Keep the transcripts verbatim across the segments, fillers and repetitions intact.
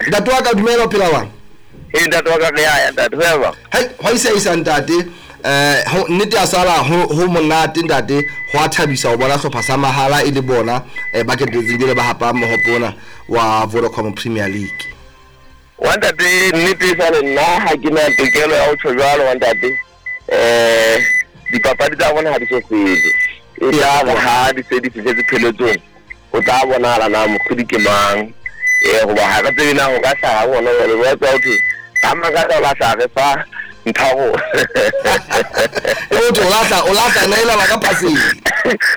Ntate wa ka, dumela, o phela wang? Ee, ntate wa ka, re ya ntate, ho ya ba. Hai, hwa isa isa ntate. Eh, ho nnete ya sala ho ho monate ntate, ho a thabisa ho bona hlopha sa mahala e le bona eh, ba ketetseng jwale ba hapa mohope ona wa Vodacom Premier League. Wa ntate, nnete e sale nna ha ke na tokelo ya ho tjho jwalo wa ntate. Eh, dipapadi tsa rona ha di so fele. E tla re ha di se di fihletse pheletsong, ho tla bonahala na mohlodi ke mang. Eh, hoba ha re tsebe na ho ka hlaha hona jwale, ba tswa ho thwe ka makata o lahla re fa ntharo. E o o lahla o lahla neela ba ka phaseng.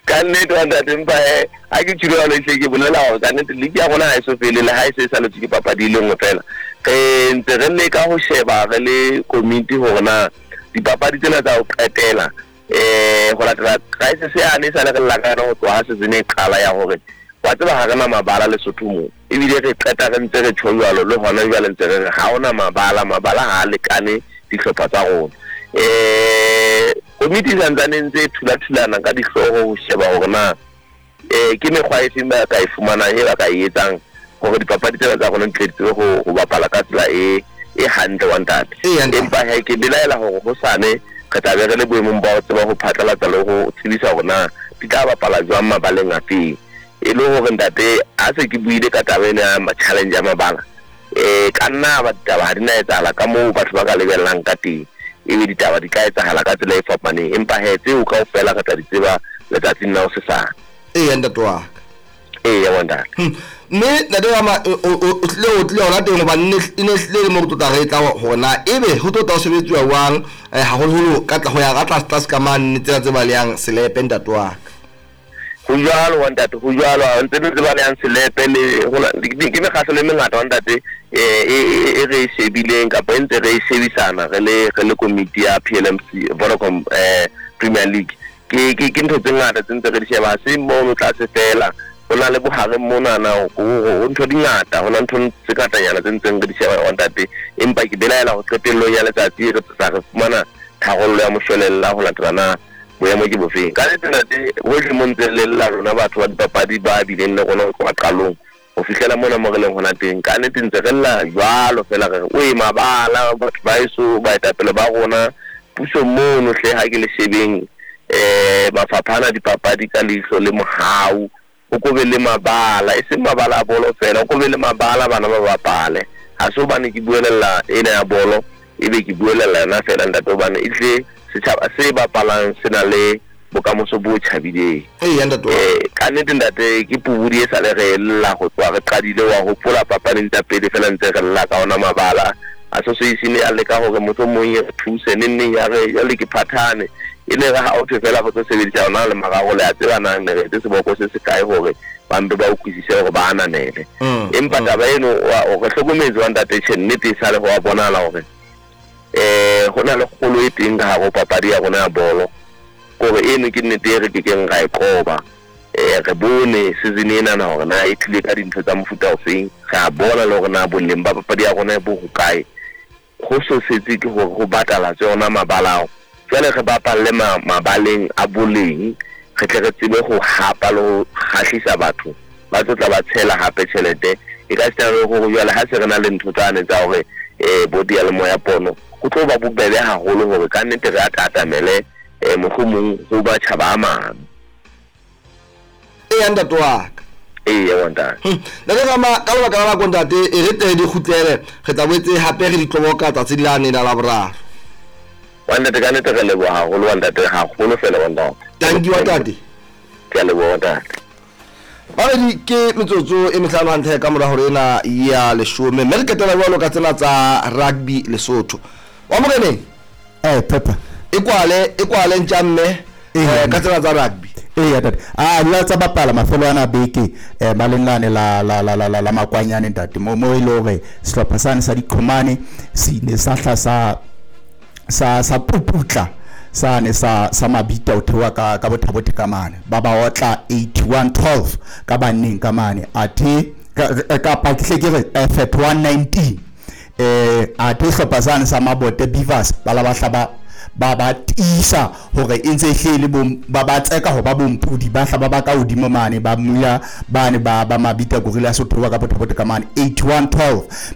Ka nnete wa ntate, empa he ha ke tjhilo jwalo, ehlile ke bolela hore ka nnete league ya rona ha e so fele, le ha e se e saletswe ke papadi e le nngwe fela. Re ntse re leka ho sheba re le komiti hore na dipapadi tsena tsa ho qetela, eh ho latela crisis yane e sale re lla ka yona ho tloha ha season e qala, ya hore wa tseba ha re na mabala Lesotho moo, ebile re qeta re ntse re tjho jwalo le hona jwale ntse re re ha hona mabala, mabala ha a lekane dihlopha tsa rona. Eh komiti e santsane e ntse e thula-thulana ka dihlooho ho sheba hore na eh ke mekgwa e feng ba ka e fumanang, e ba ka e etsang hore dipapadi tsena tsa rona di tle di tsebe ho ho bapala ka tsela e e hantle wa ntate. Eya, ntate. Empa he ke belaela hore hosane re tla be re le boemong ba ho tseba ho phatlalatsa le ho tsebisa hore na di tla bapala jwang mabaleng a feng. E le hore ntate, ha se ke buile ka taba ena ya challenge ya mabala, eh ka nna ba ditaba ha di na etsahala ka moo batho ba ka lebellang ka teng, ebe ditaba di ka etsahala ka tsela e fapaneng, empa he tseo kaofela re tla di tseba letsatsing la hosesane. Eya, ntate wa ka. Eya wa ntate. Hmm. Mme ntate wa ma, o o o tlile o tlile hona teng hobane ne e ne hlile le mo re tlotla re tla hore na ebe ho tlo tla ho sebetsuwa jwang, eh, haholoholo ka tla ho ya ka tlase tlase ka mane tsena tse balehang selepe, ntate wa ka. Ho jwalo wa ntate, ho jwalo, ha ntse ntse balehang selepe le hona ke mekgahlo e mengata wa ntate, eh e e re e shebileng kapa e ntse re e shebisana re le re le komiti ya P L M C Vodacom eh Premier League. Ke ke ke ntho tse ngata tse ntse re di sheba, ha se mono tlase fela, ho na le bohareng monana, ho ho ntho di ngata, ho na ntho tse ngatanyana tse ntseng re di sheba wa ntate, empa ke belaela ho qetellong ya letsatsi re tla re fumana tharollo ya moshwelella ho latela na boemo ke bofeng. Ka nnete ntate, hohle mo ntse le lla rona batho ba dipapadi ba bileng le rona ho tloha qalong ho fihlela mona mo re leng hona teng, ka nnete ntse re lla jwalo fela, re re oe mabala, batho ba heso, baetapele ba rona puso mono hle, ha ke le shebeng eh mafapha ana dipapadi ka leihlo le mohau, o ko be le mabala, e seng mabala a bolo fela, o ko be le mabala bana ba bapale. Ha se hobane ke buelella ena ya bolo ebe ke buelella yona fela ntate, hobane ehlile setjhaba se bapalang se na le bokamoso bo tjhabileng. Eya, ntate wa ka. Eh ka nnete ntate, ke pobodi e sale re lla ho tloha re qadile, wa hopola papading tsa pele fela ntse re lla ka ona mabala. Association ya leka hore mohlomong e re thuse neng neng, ya re jwale ke phathane, e ne re ha o thwe fela re tlo sebedisa yona le mararo, le a tseba na ne re etse seboko se se kae hore ba mpe ba utlwisise hore ba ananele. Mm, Empa mm. taba eno wa o re hlokometse wa ntate, tjhe, nnete e sale ho wa bonahala hore eh ho na le kgolo e teng ka hare ho papadi ya rona ya bolo, kore eno ke nnete e re kekeng ra e qoba. Eh re bone season ena na hore na e tlile ka dintho tsa mofuta ofeng, re a bona le hore na boleng ba papadi ya rona bo hokae. Ho so setse ke hore ho batalatswe ona mabala ao, jwale re bapalle ma, mabaleng a boleng, re tle re tsebe ho hapa le ho kgahlisa batho ba tlo tla ba tshela hape tjhelete e ka sitana le hore jwale ha se re na le ntho tsane tsa hore eh bo diyalemoya pono, ho tlo ba bobebe haholo hore ka nnete re atatamele eh mohlomong ho batjhaba a mang. Eya, ntate wa ka. Eya wa ntate. Hmm. Ntate Rama, ka lebaka la nako ntate, e re tle di kgutlele, re tla boetse hape re di tloboka tsatsi lane la Laboraro. Wa ntate, ka nnete re leboha haholo wa ntate, haholo fela wa ntate. Thank you wa ntate. Ke a leboha wa ntate. Babedi ke metsotso e mehlano hantle ka mora hore ena ya leshome, mme re ketela jwalo ka tsena tsa rugby Lesotho wa moreneng. Eh Pepper. E kwale e kwale ntja mme eh ka tsena tsa rugby. Eya ntate, a di tsa bapala mafelo ana beke eh baleng lane la la la la la, la makwanyane ntate, mo mo e le hore sehlopha sane sa diqhomane se ile sa hla sa sa sa puputla sane sa sa Mabita o theoha ka ka Botha-Bothe ka mane, ba ba otla eighty-one twelve ka banneng ka mane, athe kapa ke hle ke re eh, thirty-one nineteen. eh athe sehlopha sane sa Mabote Beavers ba la ba hla ba ba ba tiisa hore e ntse e hle le ba ba tseka ho ba bompudi, ba hla ba ba ka hodimo mane, ba mula bane ba ba Mabita Gorilla so theoha ka Botha-Bothe ka mane eighty-one twelve.